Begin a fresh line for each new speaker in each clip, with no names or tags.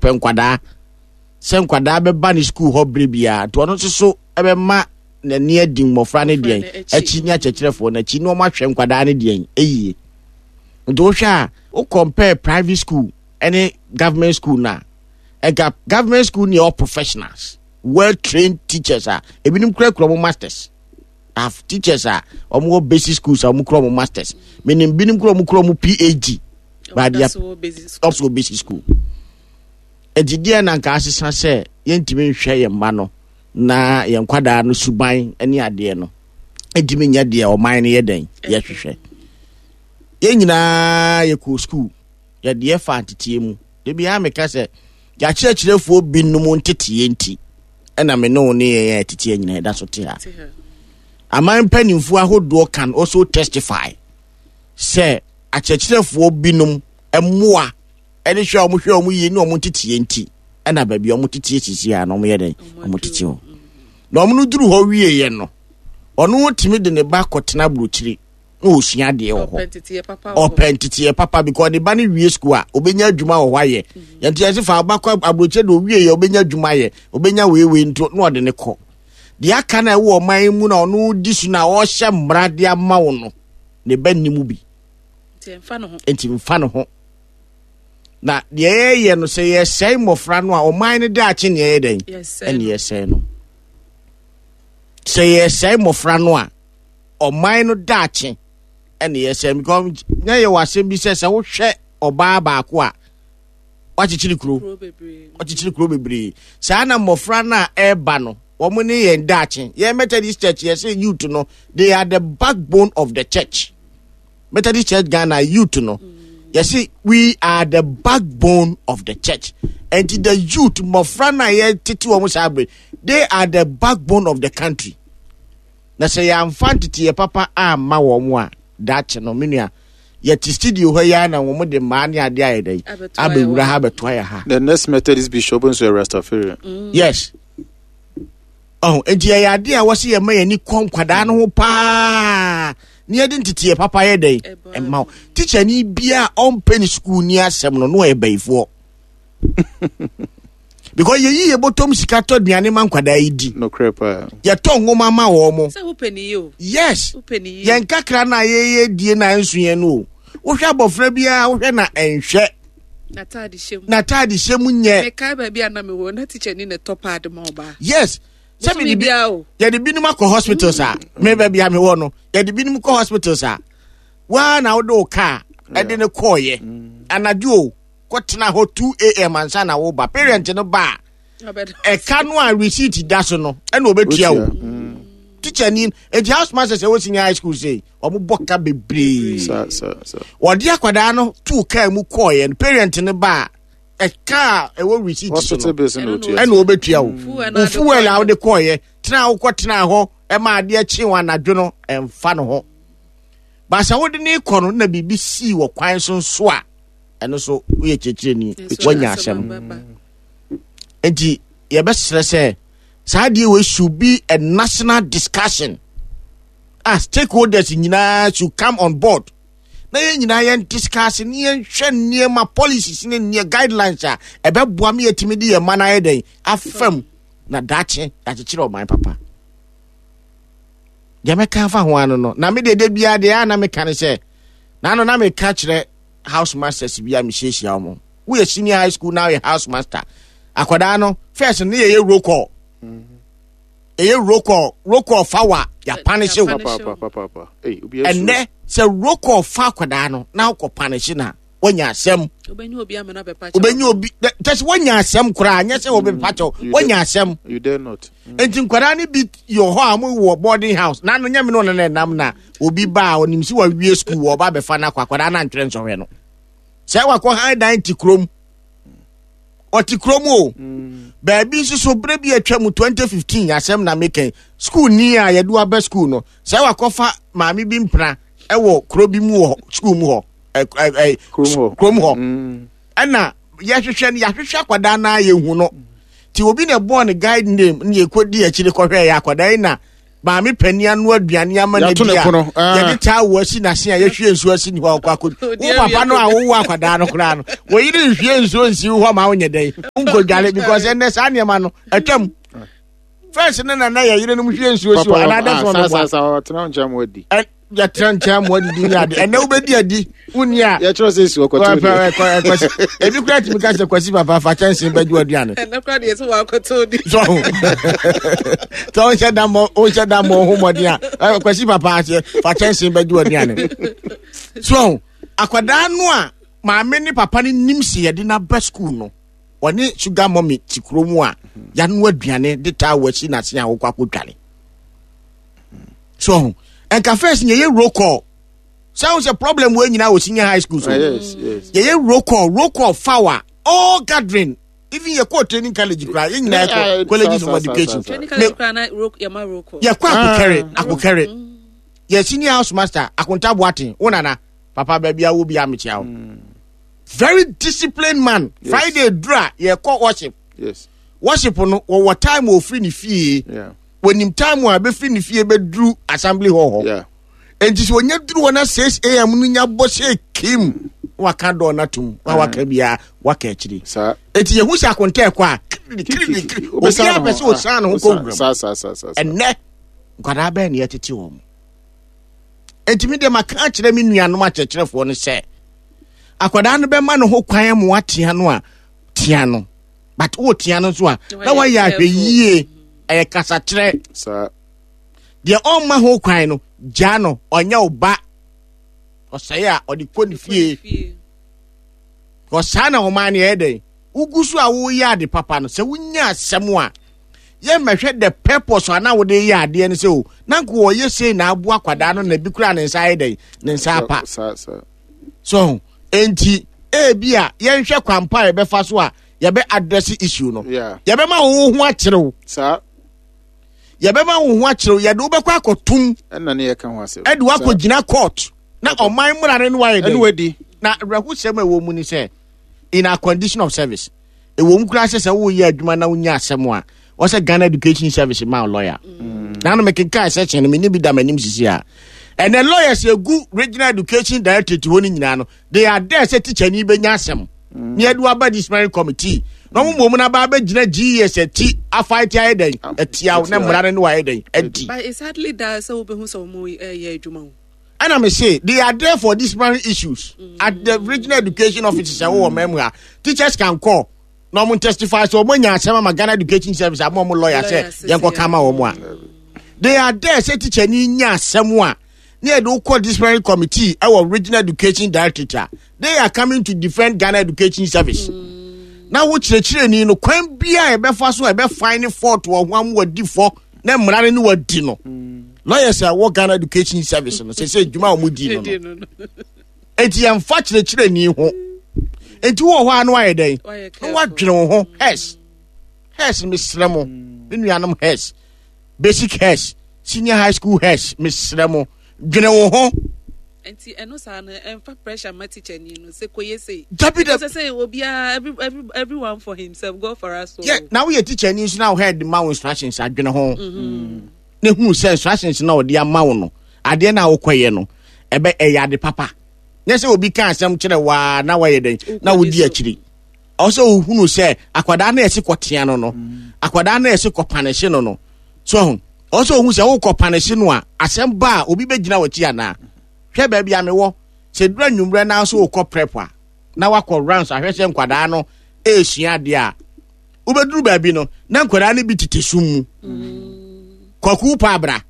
Ɔpɛ nkwadaa sɛ nkwadaa bɛba ne sukuu hɔ berɛ biara nti ɔno nso so ɛbɛma n'ani adi mmɔfra no deɛn akyi ne akyerɛkyerɛfoɔ no akyi na wɔn ahwɛ nkwadaa no deɛn yie. Nti wohwɛ a wo compare private school ne government school no a nka government school ne all professionals well trained teachers a ebinom kurakura wɔn masters have teachers a wɔn wɔ basic schools a wɔn kura wɔn masters menim binom kura wɔn kura wɔn phd but they are also basic school nti deɛ na nka asesa sɛ yɛntumi nhwɛ yɛn mma no na yɛn nkwadaa no suban ne adeɛ no ntumi nyɛ deɛ ɔman no yɛ dɛn yɛhwehwɛ yɛn nyinaa yɛkɔ school yɛde yɛfa nteteɛ mu da biara meka sɛ yɛakyerɛkyerɛfoɔ binom nteteɛ nti ɛna me ne wo ne yɛn a ɛteteɛ nyinaa ɛda so te ha aman mpanimfoɔ ahodoɔ can also testify sɛ akyerɛkyerɛfoɔ binom mmoa ɛne hwɛ a wɔhwɛ wɔn yie ne wɔn nteteɛ nti ɛna baabi a wɔn teteɛ sisi a na wɔn yɛ dɛn wɔn tete hɔ na wɔn no duru hɔ wieɛ no ɔno tumi de ne ba kɔtena aburokyire na ɔsua adeɛ wɔ hɔ ɔpɛ nteteɛ papa because ne ba no wie sukuu a ɔbɛnya adwuma wɔ hɔ ayɛ mm-hmm. yɛnti yɛse fa ɔba kɔ aburokyire de ɔwie yɛ ɔbɛnya adwuma ayɛ ɔbɛnya weiwei nto na ɔde ne kɔ deɛ aka no a ɛwɔ ɔman mu na ɔno di so na ɔhyɛ mmara de ama wo no ne ba nni mu bi nti mfa ne ho na deɛ yɛyɛ no sɛ yɛsɛe mmɔfra no a ɔman no daakye ne ɛyɛ dɛn ɛne yɛsɛe no sɛ yɛsɛe mmɔfra no a ɔman no daakye ɛne yɛsɛe because na yɛwɔ asɛm bi sɛ sɛ wohwɛ ɔbaa baako a wakyekyere kuro wakyekyere kuro bebree saa na mmɔfra no a ɛreba no wɔn ne yɛn daakye yɛn Methodist Church yɛsɛ youth no they are the backbone of the church Methodist Church Ghana youth no yɛsi we are the backbone of the church and the youth mmɔfra no a yɛtete wɔn saa bere they are the backbone of the country na sɛ yɛamfa nteteyɛ papa amma wɔn a daakye no me nua yɛte studio hɔ yi ara na wɔn de mmaa ne adeɛ ayɛ dɛ abɛwura ha abɛtoa yɛ ha.
The next Methodist bishop nso yɛ Rastafarian.
Mm. Yes. Ɔho nti yɛyɛ adeɛ a wɔsi yɛ ma yɛn ani kɔ nkwadaa no ho paa ne yɛde nteteɛ papa yɛ dɛn ɛma wo tikyani bia a ɔmpɛ ne sukuu ni asɛm no na ɔyɛ bayifoɔ because yɛyi yɛ bɔtɔm sika tɔ aduane ma nkwadaa yi di
nokorɛ paa
yɛtɔ nwoma ma wɔn mo yes yɛn kakra no a yɛyɛ die na nso yɛn no o wohwɛ abɔfra biara wohwɛ na ɛnhwɛ n'ataade hyɛ mu nyɛ
mekae baabi a na mewɔ na teacher ni na ɛtɔ paade ma ɔbaa
yes sɛ mede bi yɛde binom akɔ hospitals a me baabi a mewɔ no yɛde binom kɔ hospitals a waa na wode wo kaa ɛde ne kɔɔyɛ mm. anadwo o kɔtena hɔ 2 am ansa na woba parent no ba a ɛka no a receipt da so no ɛna ɔbɛtua wo mm. teacher ni eti house master sɛ wɔ senior high school sei wɔn bɔ ka bebree wɔde akwadaa no tuu kaa mu kɔɔyɛ no parent no ba a ɛka a ɛwɔ receipt so no ɛna ɔbɛtua wo wo fuel a wode kɔɔyɛ tena a wokɔ tena hɔ ɛma adeɛ kye wɔn anadwo no ɛmfa no ho baasa wode ne kɔ no na biribi sii wɔ kwan so nso a ɛno so woyɛ kyerɛkyerɛni woanya asɛm nti yɛbɛsrɛ sɛ saa adeɛ wei should be a national discussion a stakeholders nyinaa should come on board na yɛn nyinaa yɛn discuss ne yɛn hwɛ nneɛma policies ne nneɛ guidelines a ɛbɛboa me yɛtumi de yɛn mma no ayɛ dɛn afam na daakye yɛakyekyere ɔman papa deɛ mɛka afa ho ano no na me deɛ da biara deɛ a na meka ne sɛ na ano na meka kyerɛ house masters bi a mehyiahyia wɔn woyɛ senior high school na woyɛ house master akwadaa no first ne yɛyɛ roll call ɛyɛ roll call roll call fa wa yɛapanehye wo ɛnɛ sɛ roll call fa akwadaa no na wokɔ panehye na woanya asɛm wobɛnya obi kyɛ sɛ woanya asɛm koraa nyɛ sɛ wɔbɛpa kyɛw mm, woanya asɛm mm. nti nkwadaa no bi yɛ hɔ a wɔwɔ boarding house na no nyɛ me no ɔno na ɛnam na obi ba a ɔnim sɛ wawie sukuu wɔ ɔba abɛfa no akɔ akwadaa no antwerɛ nsɔhwɛ no sɛ wakɔ han dan te kurom ɔte kurom o mm. baabi nso so berɛ bi atwa mu 2015 asɛm na mekɛn sukuu ni a yɛde waba sukuu no sɛ wakɔfa maame bi mpena ɛwɔ kuro bi mu wɔ sukuu mu hɔ kurom hɔ mm. ɛna yɛhwehwɛ no yɛahwehwɛ akwadaa no a yɛhu no nti obi na ɛbɔɔ ne guide name ne yɛkɔdi akyire kɔhwɛ yɛ akwadaa yi na Maame panin ano aduane ama no
Yɛato
adi
ne
a
pono, ah.
yɛde towel asi n'ase a yɛhwie nsuo asi ne hɔ a ɔkɔ akɔ wo papa no a wowɔ akwadaa no koraa no wɔyere nhwie nsuo nsi wo hɔ ma wonyɛ dɛn wonkɔdware because ɛnnɛ saa nneɛma no atwam. First ne nana yɛ yerenom hwie nsuo si hɔ anaa dɛ
Papa,
sɛ
ah, saa
ɔbɛboa.
saa saa ɔtena wo nkyɛn ma wadi.
Yɛtena nkyɛn ma wadidi ne ade ɛnɛ wobɛdi adi wonni a
Yɛkyerɛ sɛ esi ɔkɔtɔ deɛ.
Kwasi ebi kura tumi ka sɛ Kwasi papa fa kyɛnse bɛgye w'aduane.
Ɛnɛ kura deɛ sɛ wakɔtɔ di.
So sɛ wonhyɛ da mmɔ wonhyɛ da mmɔ ho mmɔden a Kwasi papa aseɛ fa kyɛnse bɛgye w'aduane. So akwadaa no a maame ne papa no nim si yɛde n'aba sukuu no ɔne sugar mummy te kuro mu a yɛanoa aduane de taa wɔ asi n'ase a wokɔ akɔdware. So nka first yɛyɛ roll call sɛ wo sɛ problem wɔ nyinaa wɔ senior high school so
Ah, yes, yes.
yɛyɛ roll call roll call fawa all gathering even yɛkɔ training college koraa yɛn nyinaa yɛkɔ colleges of education
Training college koraa na roll yɛma roll call.
Yɛkɔ akokɛre akokɛre yɛ senior house master Akonta Boaten wo nana papa baabi a wo bi amekyia wo very disciplined man.
Yes.
Friday dura yɛkɔ worship.
Yes.
Worship no wɔwɔ time wɔ ofiri ne fie.
Yeah.
Wɔnim time a bɛfiri ne fie bɛduru assembly hall hɔ.
Yeah.
Enti sɛ ɔnya duru hɔ na 6 am no nya bɔ sɛ kim na waka dɔɔ no atom na waka biara waka akyiri.
Saa.
Enti yɛhu sɛ akonta ɛkɔ a kiridi kiridi kiridi obiara pɛ sɛ ɔsan ne ho kɔ wuram.
Saa saa saa saa.
Ɛnnɛ nkwadaa bɛn na yɛtete wɔn. Enti me deɛ maka akyerɛ me nuanom akyerɛkyerɛfoɔ no sɛ akwadaa no bɛma ne ho kwan ma watea no a tea no but wotea no nso a na wayɛ ahwɛ yie ɛyɛ kasakyerɛ.
Saa.
Deɛ ɔmma ho kwan no gyaa no ɔnyɛ wo ba ɔsɛe a ɔde kɔ ne fie ɔsaa na ɔman no yɛyɛ dɛn wogu so a woyɛ ade papa no sɛ wonya asɛm a yɛmmɛhwɛ the purpose a na wode yɛ adeɛ no sɛ o na nka wɔyɛ sei na aboa akwadaa no na bi koraa ne nsa ayɛ dɛn ne nsa apa
Saa saa.
So enti ebi a yɛnhwɛ kwampa a yɛbɛfa so a yɛbɛ address issue no.
Yeah.
Yɛbɛma wo ho akyerɛw.
Saa.
Yɛbɛma wo ho akyerɛw yɛde wobɛkɔ akɔtum.
Ɛna ne yɛka ho asɛm.
Ɛde wakɔgyina court na ɔman mmara no ne wayɛ
Ɛne
dɛn.
wadi.
Na awerɛhosɛm a ɛwɔ mu ne sɛ in our condition of service ɛwɔ mu koraa sɛ sɛ woyɛ adwuma na wonya asɛm a wɔsɛ Ghana Education Service ma wo lawyer. Na no mekenkaa section no menni bi da m'anim sisi a ɛnɛ lawyers egu regional education directorate hɔ no nyinaa no they are there sɛ teacher ni bɛnya asɛm ne yɛde waba disciplinary committee na wɔn mmom no aba abɛgyina GES akyi afight ayɛ dɛn atia wo na mmara no ne wayɛ dɛn adi.
But it's hardly that sɛ wobɛhu sɛ wɔn ɛyɛ adwuma o.
Ɛna me se they are there for disciplinary issues at the regional education offices ɛwɔ wɔn mu ha teachers can call na wɔn testify sɛ wɔn anya asɛm ama Ghana Education Service ama wɔn lawyer sɛ yɛn kɔ kama wɔn a they are there sɛ teacher ni nya asɛm a ne yɛde wokɔ disciplinary committee ɛwɔ regional education directorate a they are coming to defend Ghana Education Service. Na wo kyerɛkyerɛni no kwan bia a ɛbɛfa so a ɛbɛfan ne fault wɔ ho amu wadi fɔ na mmara no ne wadi no. Lawyers a ɛwɔ Ghana Education Service no sɛ sɛ adwuma a wɔn di no no. Enti yɛmfa kyerɛkyerɛni ho. Enti wɔ hɔ a no ayɛ dɛn? Na wadwene wo ho. Hers. Hers mesrɛ mo. Me nuanom hers. Basic hers. Senior high school hers mesrɛ mo. Dwene wo ho.
Nti ɛno saa no ɛnfa pressure ma teacher ni no sɛ kɔyɛ sei.
Dabi dabi.
Sɛ sɛ obiara every every everyone for himself God for us all.
Yeah, na woyɛ teacher ni nso na wo head ma wo instructions adwene ho. Ne hu sɛ instructions na ɔde ama wo no adeɛ na wokɔyɛ no ɛbɛ ɛyɛ ade papa. Nyɛ sɛ obi ka asɛm kyerɛ waa na wayɛ dɛn na wodi akyiri. Ɔwɔ sɛ wohunu sɛ akwadaa no ɛsi kɔtea no no akwadaa no ɛsi kɔpanehye no no so ho. Ɔwɔ sɛ ohu sɛ wokɔ panehye no a asɛm ba a obi bɛgyina w'akyi anaa. Hwɛ baabi a mewɔ sɛ duru anwummerɛ na nso wokɔ prep a na wakɔ rounds ahwɛ sɛ nkwadaa no ɛresua adeɛ a wobɛduru baabi no na nkwadaa no bi tete sum mu. Kwaku pa abra.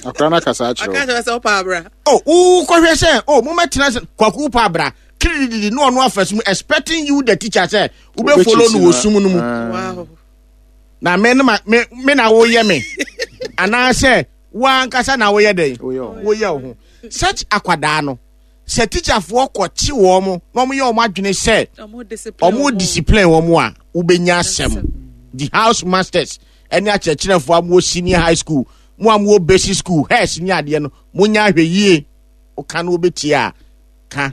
Akora no akasa akyerɛ
Aka kyerɛ sɛ ɔpa abra.
Oh, wokɔhwɛ sɛ oh mommɛtena sɛ kwaku pa abra kirididi na ɔno afa sum expecting you the teacher sɛ wobɛfollow no wɔ sum no mu.
Wow.
Na me no ma me me na woyɛ me anaasɛ woankasa na woyɛ dɛn woyɛ wo ho such akwadaa no sɛ teacherfoɔ kɔkye wɔn mo na wɔn yɛ wɔn adwene sɛ wɔn discipline wɔn a wobɛnya asɛm. The house masters ɛne akyerɛkyerɛfoɔ a mowɔ senior high school mo a mowɔ basic school hairs ne adeɛ no monya ahwɛ yie. Woka no wobɛtie a ka,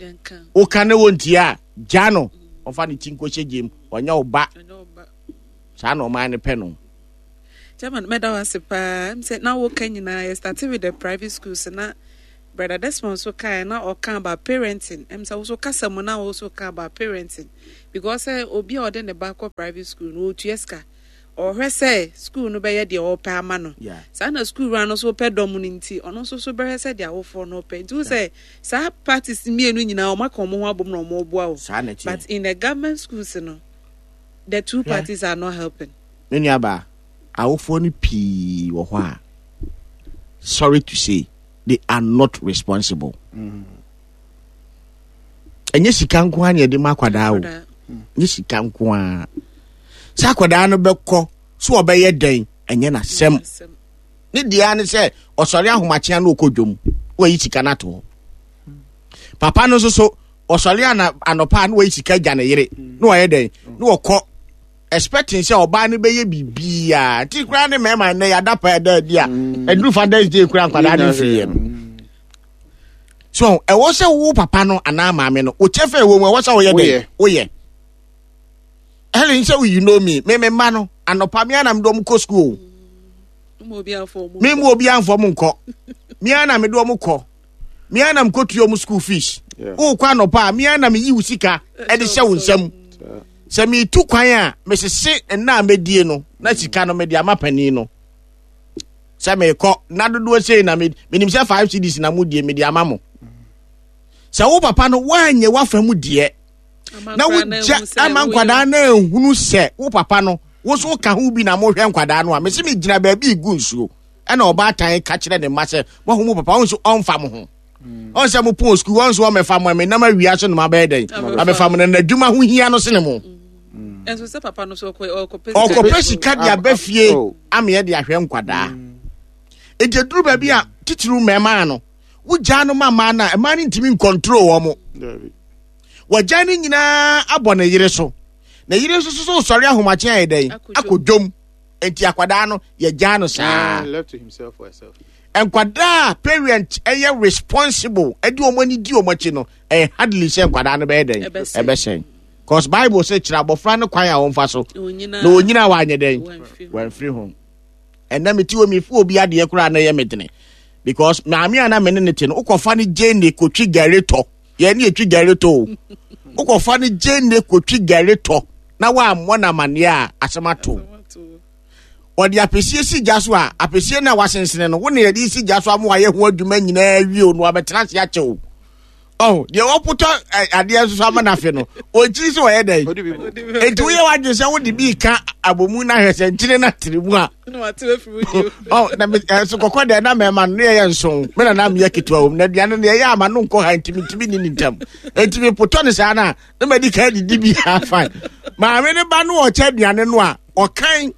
woka no wɔntie a gya no ɔfa ne ti nkɔhyɛ gyem ɔnyɛ wo ba. Saa na ɔman no pɛ no.
Chairman, mɛda wo ase paa. Sɛ na woka nyinaa, yɛ start with the private schools na Brother Desmond so kae na ɔka about parenting. Ɛm sɛ wo so kasa mu na wo so ka about parenting. Because sɛ obi a ɔde ne ba kɔ private school no, ɔtua sika. Ɔhwɛ sɛ school no bɛyɛ deɛ ɔpɛ ama no. Saa na school wura no so pɛ dɔm no nti, ɔno nso so bɛhwɛ sɛ deɛ awofoɔ no pɛ. Nti wo sɛ saa parties mmienu nyinaa wɔn aka wɔn ho abom na wɔn reboa o. But in the government schools no, the two parties are not helping.
Me nuabaa, awofoɔ no pii wɔ hɔ a, sorry to say, they are not responsible. Ɛnyɛ sika nko ara na yɛde ma akwadaa o. Ɛnyɛ sika nko ara. Sɛ akwadaa no bɛkɔ so ɔbɛyɛ dɛn ɛnyɛ n'asɛm. Ne deɛ ne sɛ ɔsɔre ahomakyea na ɔkɔ dwom wayi sika no ato hɔ. Papa no nso so ɔsɔre ana anɔpa na wayi sika gya ne yere na ɔyɛ dɛn na ɔkɔ expecting sɛ ɔbaa no bɛyɛ biribiara nti koraa ne mmarima nnɛ yɛada pa ɛda adi a ɛduru Father's Day koraa nkwadaa no mfiri yɛ no so ɛwɔ sɛ wo papa no anaa maame no wo kyɛfa ɛwɔ mu ɛwɔ sɛ woyɛ dɛ woyɛ Helen sɛ you know me me me mma no anɔpa me ana mede wɔn kɔ school me mu obi anfɔ mo nkɔ me ana mede wɔn kɔ me ana mekɔtua wɔn school fees wokɔ anɔpa a me ana meyi wo sika ɛde hyɛ wo nsam sɛ metu kwan a mesese nna a mɛdie no na sika no mede ama panin no sɛ mekɔ na dodoɔ sei na menim sɛ 5 cedis na modie mede ama mo sɛ wo papa no woanyɛ woafa mu deɛ na wogya ama nkwadaa no ahunu sɛ wo papa no wo so ka ho bi na mohwɛ nkwadaa no a mese megyina baabi gu nsuo ɛna ɔbaatan ka kyerɛ ne mma sɛ moahu mo papa wo nso ɔmfa mo ho ɔn sɛ mo pɔn sukuu ɔn so ɔmɛfa mo ɛmɛ nam awia so na mo abɛyɛ dɛn abɛfa mo na n'adwuma ho hia no sene mo.
Ɛnso sɛ papa no so ɔkɔpɛ
ɔkɔpɛ sika de aba fie oh. ameɛ de ahwɛ nkwadaa. Eti eduru baabi a titiriw mmarima no wogyaa no ma mmaa no a mmaa no ntumi nkɔntro wɔn mo. Wɔgya no nyinaa abɔ ne yere so. Ne yere nso so sɔre ahomakye ayɛ dɛn akɔ dwom. Eti akwadaa no yɛgyaa no saa. Nkwadaa a parent ɛyɛ responsible ɛde wɔn ani di wɔn akyi no ɛyɛ hardly sɛ nkwadaa no bɛyɛ dɛn ɛbɛsɛn cause bible sɛ kyerɛ abɔfra no kwan a wɔmfa so na onyina wanyɛ dɛn wɔamfiri ho ɛnna mete wɔ mefi obi adeɛ koraa na ɛyɛ me dene because maame a na me ne ne te no wokɔfa no gye ne kotwi gari tɔ yɛn ne yɛtwi gari tɔ o wokɔfa no gye ne kotwi gari tɔ na woammɔ no amanneɛ a asɛm ato Wɔde apɛsie si gya so a, apɛsie no a wasensene no, wo na yɛde si gya so ama wayɛ ho adwuma nyinaa wie o, na wabɛtena ase akyɛ o. Ɔho, deɛ wɔpotɔ adeɛ nso so ama no afe no, ɔkyiri sɛ ɔyɛ dɛn? Enti woyɛ w'adwene sɛ wode bi ka abomu no ahwɛ sɛ nkyene no atere mu a. Ɔho, na ɛso kɔkɔ deɛ na mɛma no yɛyɛ nson, me na na meyɛ ketewa wɔ mu, na aduane no yɛyɛ ama no nkɔ ha nti mentumi ni ne ntam. Enti mepotɔ no saa no a, na madi kan didi bi afa. Maame no ba no ɔkyɛ aduane no a, ɔkan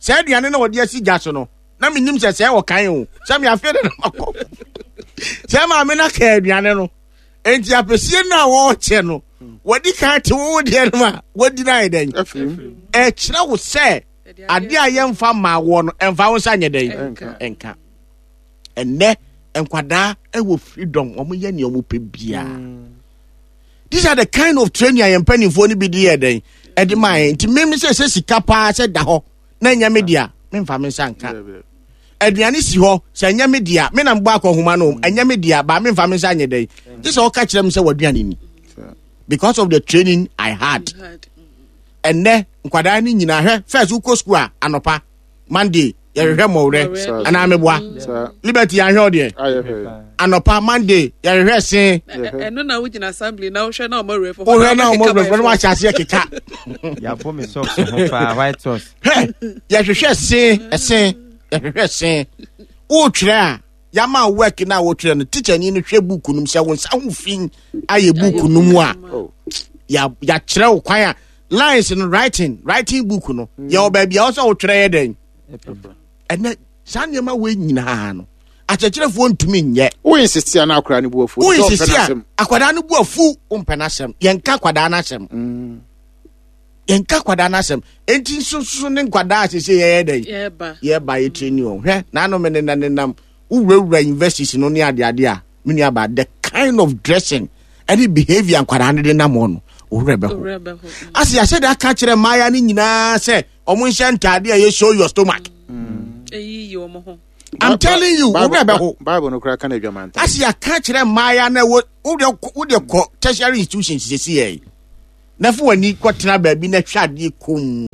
saa aduane na ɔde asi gya so no na menim sɛ sɛ ɔkan o sɛ me afei de na makɔ sɛ maame no aka aduane no enti apɛsie no a wɔrekyɛ no wɔde kan te wo deɛ no a wɔdi no ayɛ dɛn ɛkyerɛ wo sɛ adeɛ a yɛmfa mmaa woɔ no ɛmfa wo nsa nyɛ dɛn ɛnka ɛnnɛ nkwadaa ɛwɔ freedom wɔn yɛ nea wɔn pɛ biara these are the kind of training a yɛn mpanimfoɔ no bi de yɛ dɛn ɛde maa yɛn nti mímí sɛ sɛ sika paa sɛ da hɔ na ɛnyɛ me dea memfa me nsa nka aduane si hɔ sɛ ɛnyɛ me dea me na mbɔ akɔhoma no ɛnyɛ me dea baa memfa me nsa nyɛ dɛn gye sɛ ɔka kyerɛ me sɛ w'aduane ni because of the training I had ɛnɛ nkwadaa no nyinaa hwɛ first wokɔ school a anɔpa Monday yɛhwehwɛ mmɔwerɛ anaa meboa Liberty yɛahwɛ wo deɛ anɔpa Monday yɛhwehwɛ se
ɛno na wogyina assembly na wohwɛ na ɔmɔ werɛfo
wohwɛ na ɔmɔ werɛfo na wahyɛ aseɛ keka
yɛabɔ me socks ho paa white socks
hwɛ yɛhwehwɛ se ɛse yɛhwehwɛ se wotwerɛ a yɛama work no a wotwerɛ no teacher ni no hwɛ book no mu sɛ wo nsa ho fi ayɛ book no mu a yɛakyerɛ wo kwan a lines no writing writing book no mm. yɛwɔ baabi a ɔsɛ wotwerɛ yɛ dɛn ɛnɛ saa nneɛma wei nyinaa no akyerɛkyerɛfoɔ ntumi nyɛ
woinsisi a na akwadaa no bu afu
woinsisi a akwadaa no bu afu wompɛ n'asɛm yɛnka akwadaa no asɛm mm. yɛnka akwadaa no asɛm enti nso so ne nkwadaa a sese yɛyɛ dɛn yɛba yɛtiri ni wɔn hwɛ n'ano me nenam nenam wowurawura universities no ne adeade a me nua ba the kind of dressing ɛne behavior nkwadaa no de nam hɔ no owurɛ bɛho ase yɛahyɛ de aka kyerɛ mmaaya no nyinaa sɛ ɔmo nhyɛ ntaade a ɛyɛ show your stomach mm.
Eyiyi wɔn ho.
I'm telling you, wo werɛ bɛho.
Bible no koraa ka no adwamantam.
Ase yɛaka kyerɛ mmaaya na wo wodeɛ kɔ tertiary institutions sisi yɛ na fo w'ani kɔtena baabi na hwɛ adeɛ komm.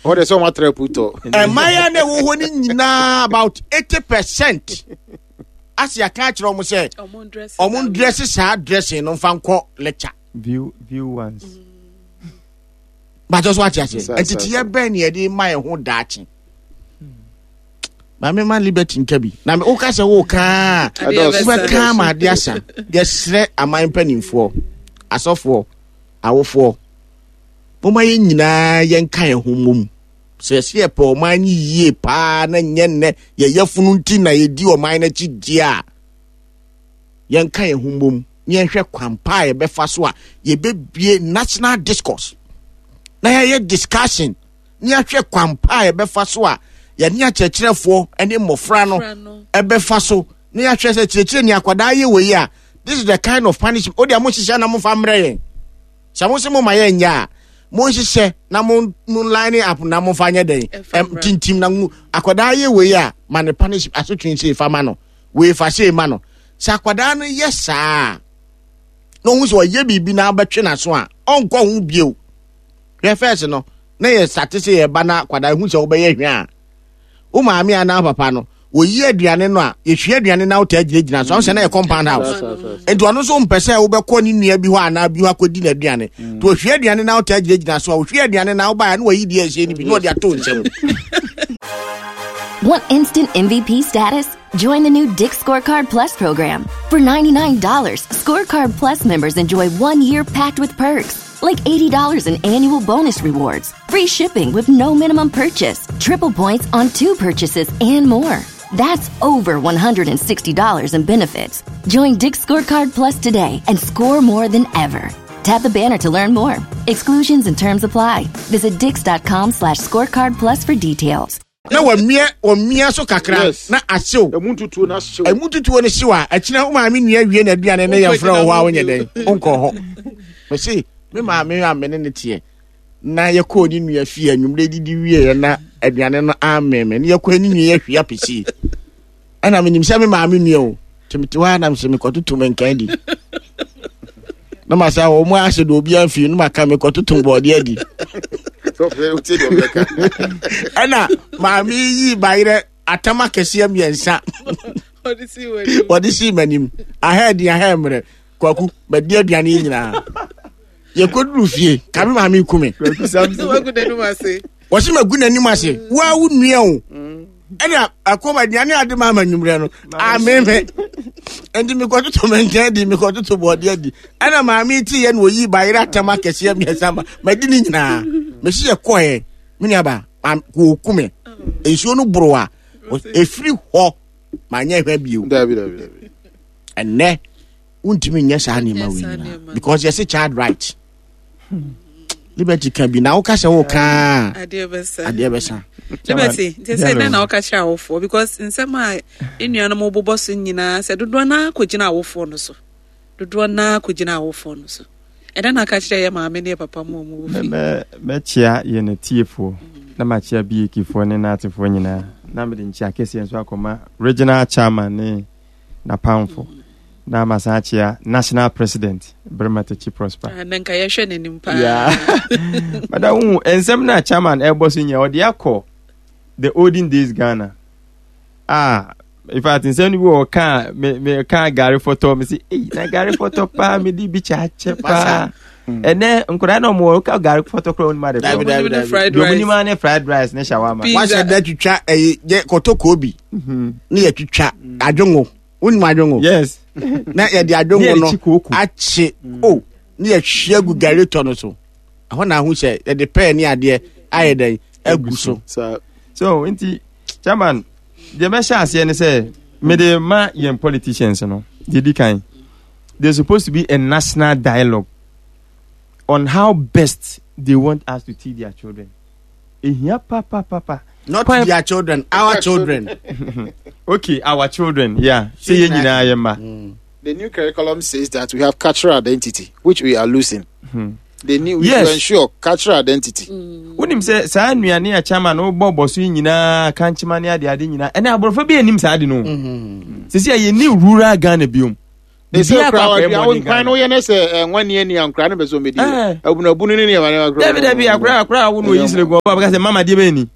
Hɔ de sɛ wɔn atra putɔ.
Mmaaya na ɛwɔ hɔ no nyinaa about 80% ase yɛaka akyerɛ wɔn sɛ wɔn ndrɛse saa dressing no nfa nkɔ lecture.
View view once.
Bàtɛ so ate aseɛ nteteɛ bɛn na yɛde ma yɛn ho daakye. Maame ma Liberty nka bi na woka sɛ woka wobɛka ma ade asa. Yɛsrɛ aman mpanimfoɔ, asɔfoɔ, awofoɔ, momma yɛn nyinaa yɛnka yɛn ho mmom. Sɛ yɛsɛ yɛpɛ ɔman no yie paa na nyɛ nnɛ yɛyɛ funu nti na yɛdi ɔman no akyi deɛ a, yɛnka yɛn ho mmom na yɛnhwɛ kwan pa a yɛbɛfa so a yɛbɛbie national discourse na yɛayɛ discussion na yɛahwɛ kwan pa a yɛbɛfa so a yɛne akyerɛkyerɛfoɔ ne mmɔfra no ɛbɛfa so na yɛahwɛ sɛ kyerɛkyerɛ ni akwadaa yɛ wei a, this is the kind of punishment o deɛ mo nhyehyɛ na momfa mmerɛ yɛn sɛ mo se mo ma yɛn nyɛ a mo nhyehyɛ na mo mo line up na momfa nyɛ dɛn tintim na mo akwadaa yɛ wei a ma ne punishment asotwe sei fa ma no wei fa sei ma no sɛ akwadaa no yɛ saa na ohun sɛ ɔyɛ biribi na abɛtwe n'aso a ɔnkɔ ho bio. Hwɛ fɛs no na yɛ sate sɛ yɛba na akwadaa ehu sɛ wobɛyɛ hwɛ a wo maame anaa papa no wɔyi aduane no a yɛhwie aduane no wotaa gyinagyina so sɛ na yɛ compound house nti ɔno nso mpɛ sɛ wobɛkɔ ne nua bi hɔ anaa bi hɔ akɔdi n'aduane nti wɔhwie aduane no wotaa gyinagyina so a wɔhwie aduane no wobaeɛ na wɔyi deɛ ɛhyɛ no bi na wɔde ato nsam.
Want instant MVP status? Join the new Dick Scorecard Plus program. For $99, Scorecard Plus members enjoy 1 year packed with perks, like $80 in annual bonus rewards, free shipping with no minimum purchase, triple points on two purchases, and more. That's over $160 in benefits. Join Dick Scorecard Plus today and score more than ever. Tap the banner to learn more. Exclusions and terms apply. Visit dix.com/scorecard plus for details.
Na wɔmia wɔmia so kakra.
Yes.
Na ahyew.
Emu ntutuo no ahyew.
Emu tutuo no hyew a, akyina wo maame nua wie n'aduane ne yɛmfrɛ wɔ hɔ a wonyɛ dɛn wonkɔ hɔ. Mese me maame a me ne ne teɛ na yɛkɔɔ ne nua fie anwummerɛ didi wieɛ na aduane no ammee me ne yɛkɔɔ ne nua yɛhwie apɛsie ɛna menim sɛ me maame nua o nti mete hɔ a na mesɛ mekɔtoto me nkan di na masa wɔn mu ahyɛ de obi amfi no maka mekɔtoto bɔɔde adi. Ɛna maame yi bayerɛ atam akɛseɛ mmiɛnsa wɔde sii m'anim aha adi aha mmerɛ kwaku madi aduane yi nyinaa yɛkɔduru fie ka me maame ku me wɔse magu n'anim ase woa wo nua o ɛna akɔm aduane ade ma ama nwummerɛ no ameme nti mekɔtoto me nkyɛn di mekɔtoto bɔɔde adi ɛna maame ti yɛ na oyi bayerɛ atam akɛseɛ mmiɛnsa ma madi ne nyinaa mesi yɛ kɔɛ me nuaba wɔku me nsuo no boro a ɛfiri hɔ manyɛ hwɛ bio.
Dabi dabi dabi.
Ɛnɛ wontumi nyɛ saa nneɛma wei nyinaa because yɛse child right. Liberty ka bi na woka sɛ woka
adeɛ bɛsa.
Adeɛ bɛsa.
Liberty nti sɛ dɛn na woka kyerɛ awofoɔ because nsɛm a nnuanom bobɔ so nyinaa sɛ dodoɔ no ara kɔgyina awofoɔ no so, dodoɔ no ara kɔgyina awofoɔ no so, ɛdɛn na aka kyerɛ yɛ maame ne yɛ papa mu ɔmo wɔ fie?
Mɛkyea yɛn atiefoɔ na makyea BAKfoɔ ne n'atefoɔ nyinaa na mede nkyea kɛseɛ nso akɔma regional chairman ne n'apamfo na masan akyea national president Berima Takyi Prosper.
Ah, na nka yɛhwɛ n'anim paa.
Yeah. Mada wohu nsɛm no a chairman ɛbɔ so nyɛ ɔde akɔ the olden days Ghana. Ah, in fact nsɛm no bi wɔ ɔka me me ka gari fɔtɔ me si ei na gari fɔtɔ paa me di bi kyɛ akyɛ paa. Ɛnɛ nkwadaa na ɔmo wɔ ɔka gari fɔtɔ koraa onim ade
Dabi,
korɔ.
dabi, dabi.
Fried
Deɛ ɔmo
rice.
nim ara ne fried rice ne shawarma.
Pizza.
Wahyɛ da twitwa ɛyi yɛ kɔtɔkɔɔ bi ne yɛ twitwa adwongo. Wonim adwongo?
Yes.
Na yɛde adwongo no akye o ne yɛhwie agu gari tɔ no so. Ɛhɔ na ahu sɛ yɛde pɛɛ ne adeɛ ayɛ dɛn agu so.
So nti chairman deɛ mɛhyɛ aseɛ ne sɛ mede ma yɛn politicians no deɛ di kan there's supposed to be a national dialogue on how best they want us to teach their children. Ehia pa pa pa pa.
Not their children, our children.
Okay, our children, yeah. Sɛ yɛn nyinaa yɛ mma.
The new curriculum says that we have cultural identity, which we are losing. They need we
Yes.
to ensure cultural identity.
Wonim sɛ saa nnuane a chairman wobɔ bɔ so yi nyinaa, kankyema ne ade ade nyinaa, ɛnɛ aborɔfo bi anim saa ade no. Sisi a yɛnni rural Ghana biom.
They say
Biribiara
kura
akɔ akɔyɛ
ɔdua
modern
nkwan
Ghana.
no yɛ ne sɛ ɛnwa ni ani ankura ne bɛ so medi.
Eh.
Abunabunu ne nneɛma nneɛma kura.
Dabi dabi akora akora a wo na oyi sere gu ɔba bɛka sɛ mama deɛ bɛyɛ ni.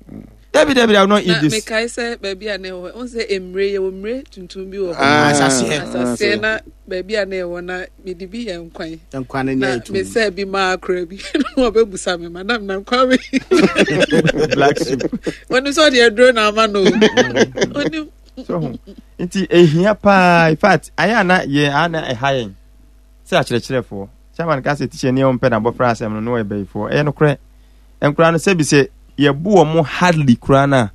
Dabi dabi I will not eat
Na
this.
mekae sɛ baabi a na ɛwɔ wo sɛ mmire yɛwɔ mmire tuntum bi wɔ hɔ.
Ah,
Asaseɛ.
Asaseɛ na baabi a na ɛwɔ na mede bi yɛ nkwan.
Nkwa no
Na
nyɛ etum.
mesɛ bi maa akora bi na ɔbɛbusa me madam na nkwan wei.
Black soup.
Onim sɛ ɔde aduro na ama no o. Onim.
So ho. Nti ehia paa in fact ayɛ ana yɛ ana ɛha yɛn sɛ akyerɛkyerɛfoɔ. Chairman ka sɛ teacher ni ɔmpɛ na abɔfra asɛm no na ɔyɛ bɛyifoɔ. Ɛyɛ nokorɛ. Nkora no sɛbi sɛ yɛbo wɔn hardly koraa no a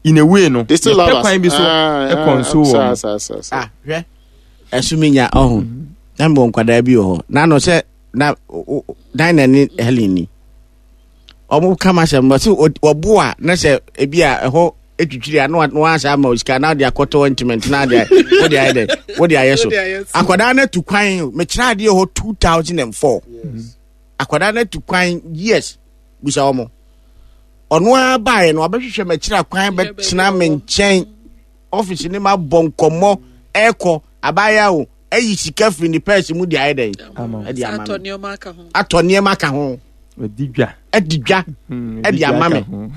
in a way no
They still love
yɛpɛ
us.
kwan bi so
Ah,
ɛkɔ
ah,
nso
saa,
wɔn.
saa, saa, saa.
Ah, hwɛ ɛso mi nya ɔho na mbɔ nkwadaa bi wɔ hɔ na ano sɛ na dan na ne Helen ni ɔmo kama sɛ mbɔ sɛ ɔbo a na sɛ ebi a ɛhɔ etwitwiri a na wa ama osika na ɔde akɔtɔ ointment na ɔde wode ayɛ dɛ wode ayɛ so
Wode ayɛ so.
Akwadaa no atu kwan mekyerɛ adeɛ hɔ 2004 akwadaa no atu kwan years bisa wɔn ɔno ara baeɛ no ɔbɛhwehwɛ m'akyiri akwan bɛtena me nkyɛn ɔfisi ne ma bɔ nkɔmmɔ ɛkɔ abaayewa o ɛyi sika firi ne pɛɛsi mu de ayɛ dɛn ɛde ama
Atɔ
me
nneɛma aka ho.
Atɔ nneɛma aka ho.
Ɔdi dwa.
Ɛdi dwa.
Ɛdi
ɛde
dwa
ama
aka
me.
ho.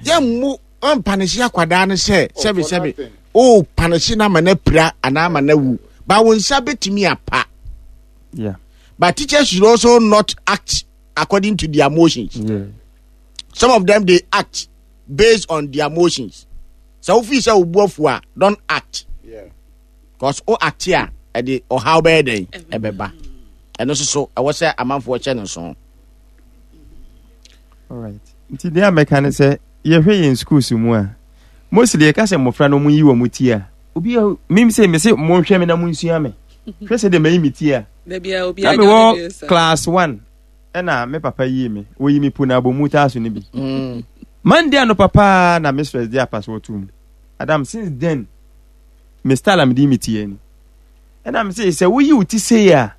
Yɛmmu ɔmpanehye akwadaa no sɛ
Oh,
sɛbi
for
sɛbi
nothing.
o panehye no ama no apira anaa ama no awu ba wo nsa bɛtumi apa. But teachers should also not act according to their emotions. Some of them, they act based on their emotions. Sɛ wofi sɛ wobu afu a, don't act. Because o act a, ɛde ɔhaw bɛyɛ dɛn ɛbɛba. Ɛno nso so ɛwɔ sɛ amanfoɔ kyɛ no nso.
Alright. Nti deɛ a mɛka ne sɛ yɛhwɛ yɛn schools mu a mostly yɛka sɛ mmɔfra no wɔyi wɔn ti a obi a mim sɛ mese monhwɛ me na monsua me hwɛ sɛ deɛ mayi me ti a
Dabi a obi
na
anya ne
mewɔ
deɛ saa.
Class one ɛna me papa yii me wɔyi me po na abɔmu taa so no bi Monday anɔpa paa na mistress de apasoɔ to mu. Adam, since then me style a mede yi me ti ani ɛna me sɛ sɛ woyi wo ti sei a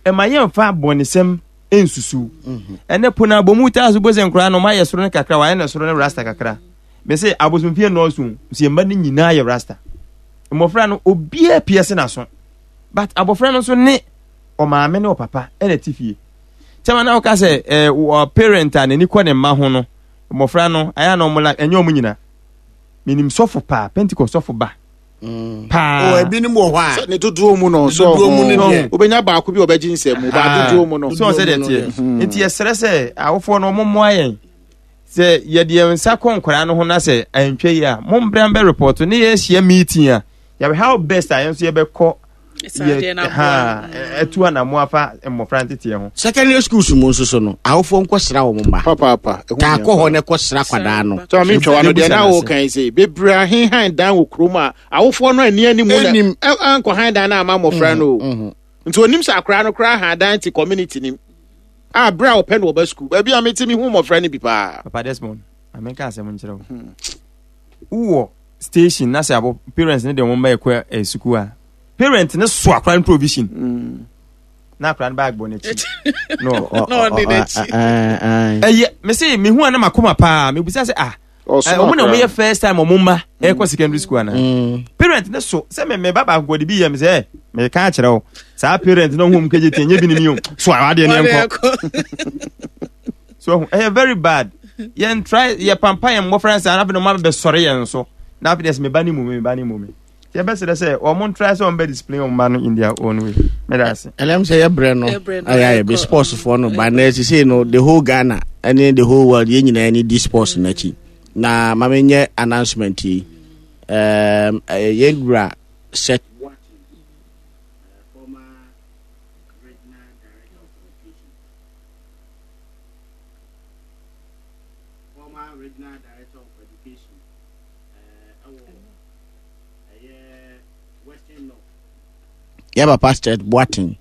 ɛma yɛmfa abɔnesɛm nsusuw ɛnɛ po na abɔmu taa so bɔ sɛ nkoraa no ɔmayɛ soro no kakra wayɛ no soro no rasta kakra. Me sɛ abosomfie nnɔɔso nso yɛn mma no nyinaa yɛ rasta. Mmɔfra no obiara pia se n'aso but abɔfra no nso ne ɔmaame ne ɔpapa ɛna ti fie kyɛma na woka sɛ ɛɛ wɔ parent a n'ani kɔ ne mma ho no mmɔfra no ayɛ na ɔmo la ɛnyɛ ɔmo nyina. Menim sɔfo paa, Pentecost sɔfo ba paa.
O ebinom wɔ hɔ a
ne dodoɔ mu no so
dodoɔ mu no deɛ.
Wobɛnya baako bi a ɔbɛgye nsɛm mu ba dodoɔ mu no.
So sɛ deɛ teɛ nti yɛsrɛ sɛ awofoɔ no ɔmo mmoa yɛn sɛ yɛde yɛn nsa kɔ nkwadaa no ho na sɛ antwa yi a mombra mbɛ report ne yɛahyia meeting a yɛbɛ how best a yɛn nso yɛbɛkɔ yɛ ha ɛtu anamo afa mmɔfra nteteɛ ho.
Secondary schools mu nso so no awofoɔ nkɔsra wɔn mma.
Papaapa. Ɛho
taa
hia
kɔ hɔ
paa.
na ɛkɔsra kwadaa no.
Sɛ maame ntwa wa no deɛ na
Yɛbusa
woka yi sɛ bebree ahenhan dan wɔ kurom a awofoɔ no ani anim na
Ɛnim.
ankɔ han dan no ama mmɔfra no o. Nti onim sɛ akwaraa no koraa han dan te community nim a berɛ a ɔpɛ no ɔba sukuu baabi a mete mehu mmɔfra no bi paa.
Papa Desmond, amenka asɛm nkyerɛ wo. Wowɔ station na sɛ abo parents ne de wɔn mma ɛkɔ sukuu a parent ne so akora no provision na akora no bag bɔ n'akyi no
Na ɔde n'akyi.
Ɛyɛ me se mehu a na makoma paa mebusa sɛ ah ɔmo na ɔmo yɛ first time ɔmo mma ɛkɔ secondary school ana parent ne so sɛ me ba baako kɔ de bi yɛ me sɛ meka akyerɛ wo saa parent na ɔmo kagye tie nye bi ne mi o so awadeɛ ne nkɔ so ɛyɛ very bad. Yɛn try yɛ pampa yɛn mmɔfra nsa na afei na ɔmo abɛsɔre yɛn so na afei deɛ sɛ me ba ne mu me ba ne mu me yɛbɛsrɛ sɛ wɔn try sɛ wɔn bɛ discipline wɔn ba no in their own way. Mɛda ase.
Ɛnam sɛ yɛbrɛ no ayɛ ayɛ bi sports foɔ no ba na ɛsisei no the whole Ghana ɛne the whole world yɛn nyinaa ni di sports n'akyi na maame nyɛ announcement yi yɛn wura sɛ former regional director of education ɛwɔ ɛyɛ Western North. Yɛ papa Seth Boateng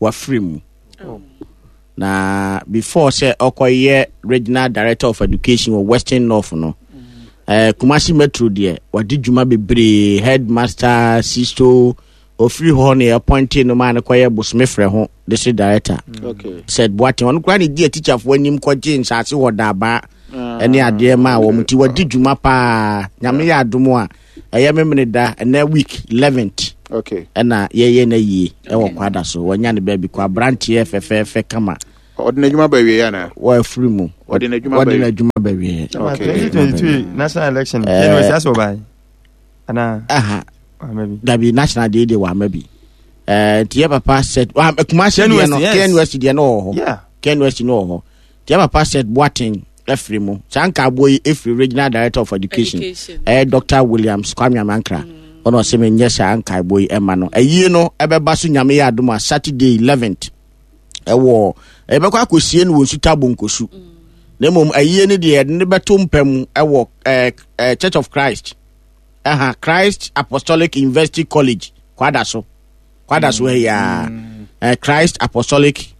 wafiri mu. Na before sɛ ɔkɔyɛ regional director of education wɔ Western North no, Kumasi Metro deɛ wadi dwuma bebree, headmaster, sisto. Ofiri hɔ ne appointee no maa no kɔyɛ bosome frɛ ho district director.
Okay.
Seth Boateng ɔno koraa ne di atikyafoɔ anim kɔgye nsaase wɔ Daabaa ɛne adeɛ maa wɔn nti wadi dwuma paa. Nyame yɛ adom a ɛyɛ memene da ɛnɛ week 11th
Okay.
ɛna yɛyɛ no yie ɛwɔ kwada so. Wanya ne baabi kɔ aberanteɛ fɛfɛɛfɛ kama.
Ɔde n'adwuma ba awie anaa?
Wɔafiri mu.
Ɔde n'adwuma ba
Wɔde
awie.
n'adwuma ba awie.
Okay.
2022 national election. KNUST asɛ ɔbae. Anaa?
Aha.
Wama bi.
Dabi national deɛ deɛ wama bi. Ɛɛ nti yɛ papa Seth wa Kumasi deɛ no
KNUST, yes.
KNUST deɛ no wɔ hɔ.
Yeah.
KNUST no wɔ hɔ. Nti yɛ papa Seth Boateng afiri mu. Saa nkaabɔ yi efiri regional director of education.
Education.
Ɛyɛ Dr. Williams Kwame Amankra. Ɔna ɔsɛ mi nyɛ saa nkaabɔ yi ɛma no. Ɛyie no ɛbɛba so Nyame yɛ adom a Saturday 11th ɛwɔ ɛbɛkɔ akɔsie no wɔ Nsuta Bonkosu. Na mmom ayie no deɛ yɛde no bɛto mpa mu ɛwɔ ɛɛ ɛɛ Church of Christ. Ɛha Christ Apostolic University College Kwadaso. Kwadaso ha yi ara. Ɛɛ Christ Apostolic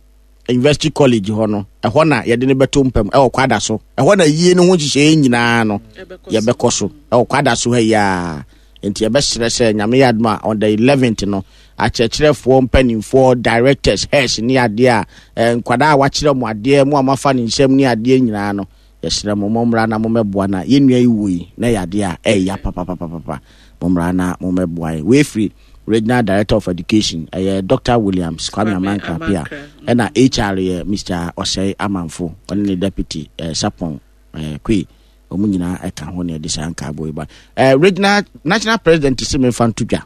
University College hɔ no ɛhɔ na yɛde no bɛto mpa mu ɛwɔ Kwadaso. Ɛhɔ na ayie no ho nhyehyɛeɛ nyinaa no yɛbɛkɔ so ɛwɔ Kwadaso ha yi ara. Nti yɛbɛsrɛ sɛ Nyame yɛ adom a on the 11th no akyerɛkyerɛfoɔ mpanimfoɔ directors heads ne adeɛ a eh, nkwadaa a wakyerɛ mo adeɛ mo a moafa ne nsam ne adeɛ nyinaa no yɛsrɛ mo mommra na mommɛboa na yɛn nua yi wuo yi na ɛyɛ adeɛ a ɛyɛ papapapapa mommra na mommɛboa yɛn. Wei firi Regional Director of Education ɛyɛ Dr. Williams Kwame Amankra Appiah ɛna HR yɛ Mr. Osei Amanfo ɔne ne deputy eh, Sapon eh, Kwe wɔn nyinaa ɛka ho na ɛde saa nkaabɔ yi ba. Eh, regional national president si mefa nto dwa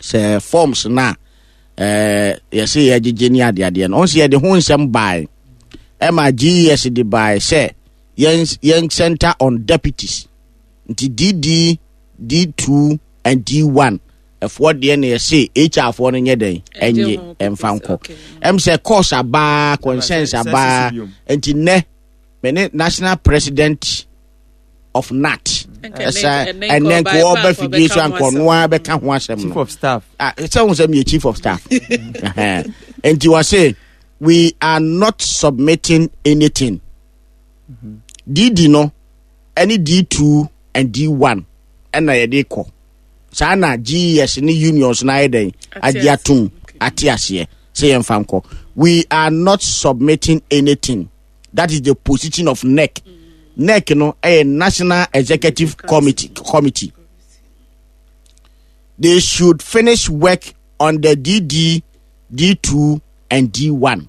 sɛ forms na eh, yɛse yɛgyegye ne adeadeɛ no ɔn sɛ yɛde ho nsɛm bae ɛma GES de bae sɛ yɛn yɛn center on deputies nti DD D2 and D1 ɛfoɔ deɛ na yɛse HR foɔ no nyɛ dɛn ɛnye ɛmfa nkɔ ɛm sɛ course abaa concerns abaa nti nnɛ me ne national president of nat ɛsɛ ɛnɛ nka ɔba fidie so anka ɔno ara bɛka ho asɛm no
chief of staff
ah sɛ ho sɛ meyɛ chief of staff nti wɔ se we are not submitting anything dd no ɛne d2 and d1 ɛna yɛde kɔ saa na ges ne unions no ayɛ dɛn agye atom ate aseɛ sɛ yɛmfa nkɔ we are not submitting anything that is the position of nec nec no ɛyɛ national executive committee committee they should finish work on the dd d2 and d1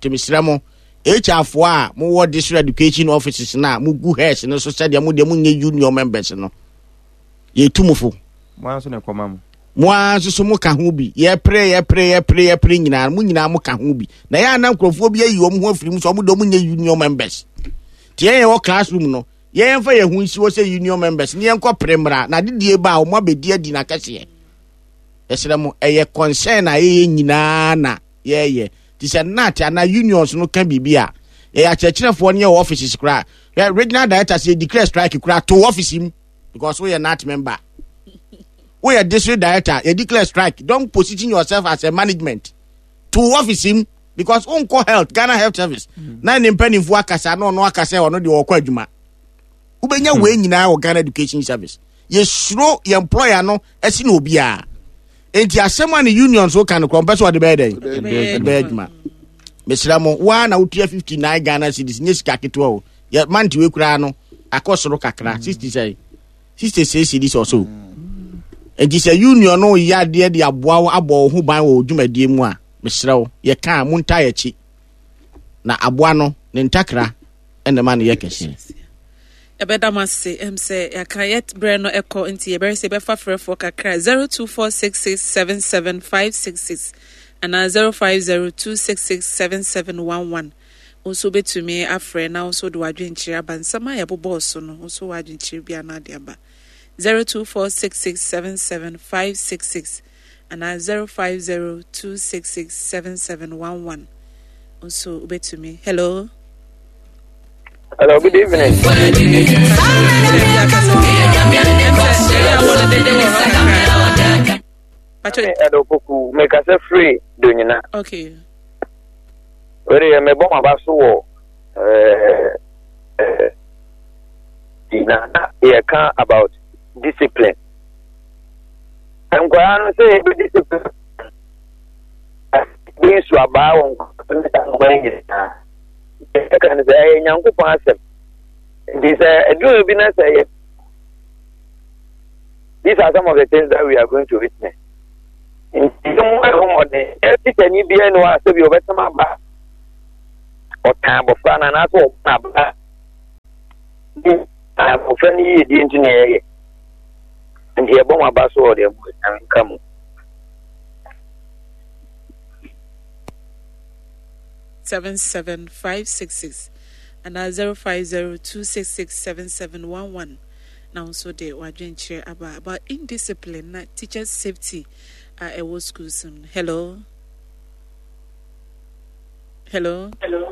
nti mesrɛ mo hr foɔ a mowɔ district education offices no a mogu heads no so sɛdeɛ mo deɛ monyɛ union members no yɛtu mo fo
Mo ara nso na ɛkɔma mo.
Mo ara nso so moka ho bi. Yɛpere, yɛpere, yɛpere, yɛpere nyinaa, mo nyinaa moka ho bi. Na yɛ ana nkurɔfoɔ bi ayi wɔn ho afiri mu sɛ wɔn de wɔn nyɛ union members. Nti yɛn yɛwɔ classroom no, yɛn fa yɛn ho nsi hɔ sɛ union members ne yɛn kɔ pere mmra na adedie ba a wɔn abɛdi adi n'akɛseɛ. Yɛsrɛ mo, ɛyɛ concern a yɛyɛ nyinaa na yɛyɛ. Ti sɛ NAT anaa unions no ka biribi a, yɛyɛ akyerɛkyerɛfoɔ ne yɛwɔ offices koraa. Regional director sɛ declare strike koraa to office mu. Because woyɛ NAT member. Woyɛ district director, you declare strike. Don't position yourself as a management. To office him because wonkɔ health, Ghana Health Service. Na ne mpanimfoɔ akasa na ɔno akasa ɔno deɛ ɔkɔ adwuma. Wobɛnya wei nyinaa wɔ Ghana Education Service. Yɛsuro yɛn employer no ɛsi na obiara. Enti asɛm a ne union so ka no korɔ mpɛ sɛ ɔde bɛyɛ dɛn? Ɔde bɛyɛ adwuma. Mesrɛ mo, woa na wotua 59 Ghana cedis, nyɛ sika ketewa o. Yɛ mante wei koraa no akɔ soro kakra 60 sɛn 66 cedis or so. Enti sɛ union no yɛ adeɛ de aboa wo abɔ wo ho ban wɔ wo dwumadie mu a, mesrɛ wo, yɛka a montaa yɛkyi. Na aboa no, ne ntakra ɛna ɛma no yɛ kɛseɛ.
Yɛbɛda mo ase ɛm sɛ yɛaka yɛ berɛ no ɛkɔ nti yɛbɛrɛ sɛ yɛbɛfa frɛfoɔ kakra 0246677566 anaa 0502667711 Wo nso wobɛtumi afrɛ na wo nso wode w'adwenkyerɛ aba nsɛm a yɛbobɔɔ so no, wo nso w'adwenkyerɛ bi anaa de aba. 0246677566 anaa 0502667711 wo nso wobɛtumi. Hello.
Hello, good evening. Ɛdɔ poku mekasa firi Donyina.
Okay.
Wei deɛ mebɔ m'aba so wɔ ɛɛ na na yɛka about discipline. Nkwadaa no sɛ yɛbɛdi sɛ bi nso abaa wɔ nkwadaa no saa nkwadaa nyinaa. Yɛka no sɛ ɛyɛ Nyankopɔn asɛm. Nti sɛ ɛduru bi na sɛ yɛ These are some of the things that we are going to witness. Nti mu ɛho mmɔden tikyani biara ni hɔ a sɛbi ɔbɛtɛm aba ɔtan abɔfra no anaasɛ ɔbɔ aba abɔfra no yiedie nti na ɛyɛ nti yɛbɔ mo aba so wɔ deɛ mo nka mu.
77566 anaa 0502667711 na wo nso de w'adwenkyerɛ aba about indiscipline na teachers safety a ɛwɔ schools mu. Hello. Hello.
Hello.